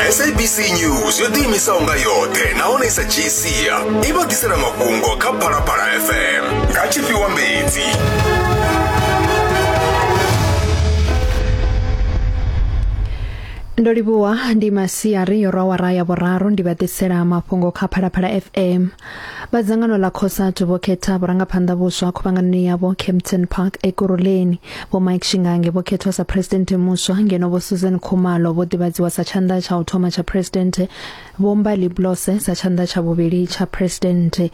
SABC News yo ḓiimisaho nga yoṱhe nahone i sa dzhii sia i vha ḓisela mafhungo kha Phalaphala FM nga tshifhiwa mbedzi. Ndo livhuwa ndi masiari yo rwa awara ya vhuraru ndi vha ḓisela mafhungo kha Phalaphala FM. Vha dzangano ḽa Cosatu vho khetha vhurangaphanḓa vhuswa khuvhanganoni yavho Kempton Park Ekurhuleni. Vho Mike Shingange vho khethwa sa presidenthe muswa ngeno Vho Susan Khumalo vho ḓivhadziwa sa tshanḓa tsha u thoma tsha presidenthe, Vho Mbali Blose sa tshanḓa tsha vhuvhili tsha presidenthe.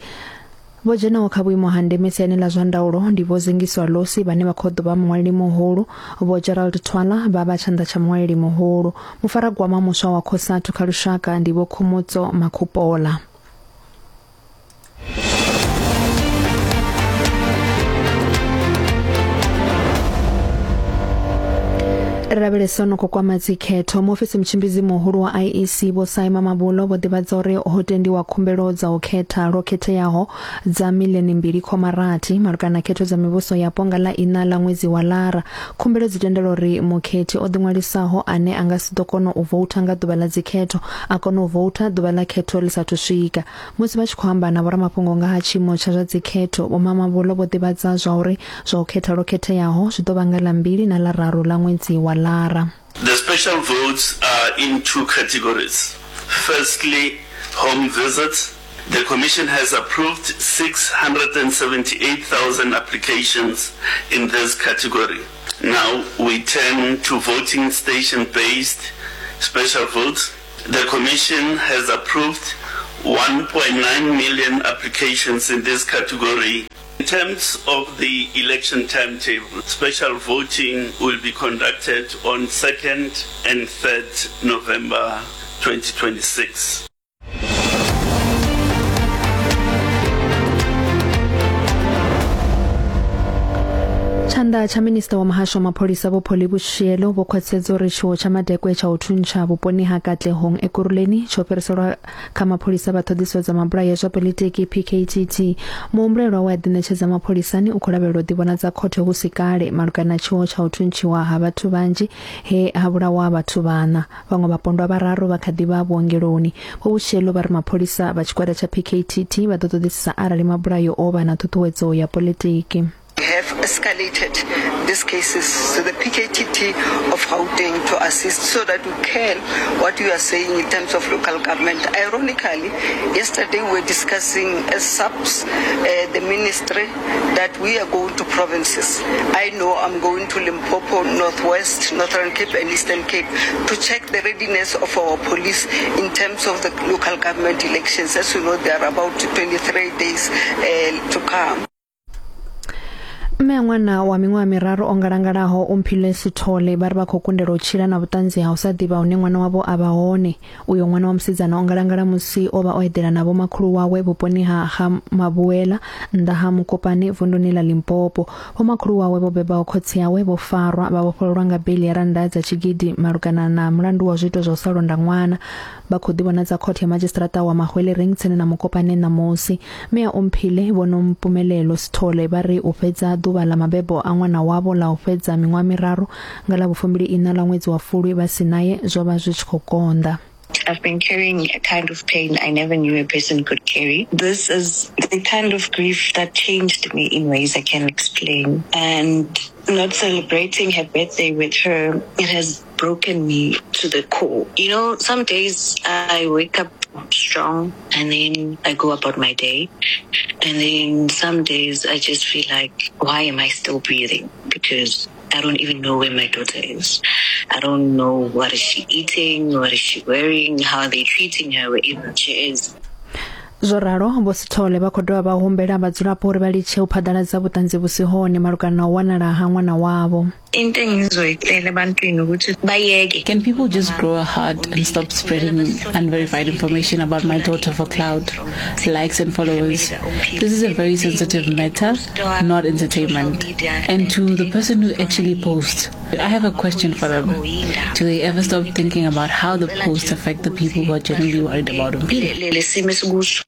Vho dzhenaho kha vhuimo ha ndeme siani ḽa zwa ndaulo ndi Vho Zingiswa Losi vhane vha khou ḓo vha muṅwaleli muhulu, Vho Gerald Thwala vha vha tshanḓa tsha muṅwaleli muhulu. Mufaragwama muswa wa Cosatu kha lushaka ndi Vho Khomotso Makhupola. Ri lavhelesa no khou kwama dzikhetho. Muofisi mutshimbidzi muhulu wa IEC Vho Saima Mabulo vho ḓivhadza uri ho tendiwa khumbelo dza u khetha lwo khetheaho dza miḽioni mbili khoma rathi malugana na khetho dza mivhuso yapo nga ḽa iṋa ḽa ṅwedzi wa Lara. Khumbelo dzi tendela uri mukhethi o ḓiṅwalisaho ane a nga si ḓo kona u voutha nga ḓuvha ḽa dzikhetho a kone u voutha ḓuvha ḽa khetho ḽi sathu swika. Musi vha tshi khou amba na vhoramafhungo nga ha tshiimo tsha zwa dzikhetho, Vho Mamabolo vho ḓivhadza zwa uri zwa u khetha lwo khetheaho zwi ḓo vha nga ḽa mbili na ḽa raru ḽa ṅwedzi wa Lara. The special votes are in two categories. Firstly, home visits. The Commission has approved 678,000 applications in this category. Now we turn to voting station-based special votes. The Commission has approved 1.9 million applications in this category. In terms of the election timetable, special voting will be conducted on 2nd and 3rd November 2026. Tshanḓa tsha minista wa muhasho wa mapholisa Vho Polly Boshielo vho khwaṱhisedza uri tshiwo tsha madekwe tsha u thuntsha vhuponi ha Katlehong Ekurhuleni tsho fhiriselwa kha mapholisa vha ṱhoḓisiso dza mabulayo a zwa poḽitiki PKTT. Muhumbulelwa we a ḓiṋetshedza mapholisani u khou lavhelelwa u ḓivhonadza khothe hu si kale malugana na tshiwo tsha u thuntshiwa ha vhathu vhanzhi he ha vhulawa vhathu vhaṋa. Vhaṅwe vhapondwa vhararu vha kha ḓi vha vhuongeloni. Vho Boshielo vha ri mapholisa vha tshigwada tsha PKTT vha ḓo ṱoḓisisa arali mabulayo o vha na ṱhuṱhuwedzo ya poḽitiki. We have escalated these cases to the PKTT of Gauteng to assist so that we can what you are saying in terms of local government. Ironically, yesterday we were discussing as SAPS, the ministry, that we are going to provinces. I know I'm going to Limpopo, Northwest, Northern Cape and Eastern Cape to check the readiness of our police in terms of the local government elections. As you know, there are about 23 days to come. Mme a ṅwana wa miṅwaha miraru o ngalangalaho Umphile Sithole vha ri vha khou kundelwa u tshila na vhuṱanzi ha u sa ḓivha hune ṅwana wavho a vha hone. Uyo ṅwana wa musidzana o ngalangala musi o vha o eḓela na vhomakhulu wawe vhuponi ha ha Mabuela nnḓa ha Mokopane vunduni ḽa Limpopo. Vhomakhulu wawe vho bebaho khotsi awe vho farwa vha vhofhololwa nga beiḽi ya rannda dza tshigidi malugana na mulandu wa zwiito zwa u sa londa ṅwana. Vha khou ḓivhonadza khothe ya madzhisiṱiraṱa wa Mahwelereng tsini na Mokopane ṋamusi. Mme a Omphile, Vho Nompumelelo Sithole vha ri u fhedza ḓuvha ḽa mabebo a ṅwana wavho ḽa u fhedza miṅwaha miraru nga ḽa vhufumbili iṋa ḽa ṅwedzi wa Fulwi vha si nae zwo vha zwi tshi khou konḓa. I've been carrying a kind of pain I never knew a person could carry. This is the kind of grief that changed me in ways I can't explain. And not celebrating her birthday with her, it has broken me to the core. You know, some days I wake up strong and then I go about my day. And then some days I just feel like, why am I still breathing? Because I don't even know where my daughter is. I don't know what is she eating, what is she wearing, how are they treating her wherever she is. Zwo ralo, Vho Sithole vha khou dovha vha humbela vhadzulapo uri vha litshe u phaḓaladza vhuṱanzi vhu si hone malugana na u wanala ha ṅwana wavho. Into engizoyicela ebantwini ukuthi bayeke. Can people just grow a heart and stop spreading unverified information about my daughter for clout, likes and followers? This is a very sensitive matter, not entertainment. And to the person who actually posts, I have a question for them. Do they ever stop thinking about how the posts affect the people who are genuinely worried about Omphile?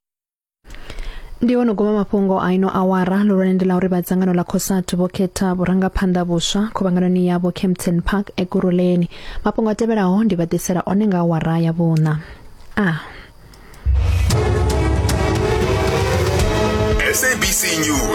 Ndi hone guma mafhungo a ino awara. Ḽihulwane ndi ḽa uri vha dzangano ḽa COSATU vho khetha vhurangaphanḓa vhuswa khuvhanganoni yavho Kempton Park Ekurhuleni. Mafhungo a tevhelaho ndi vha ḓisela one nga awara ya vhuṋa. A. SABC News.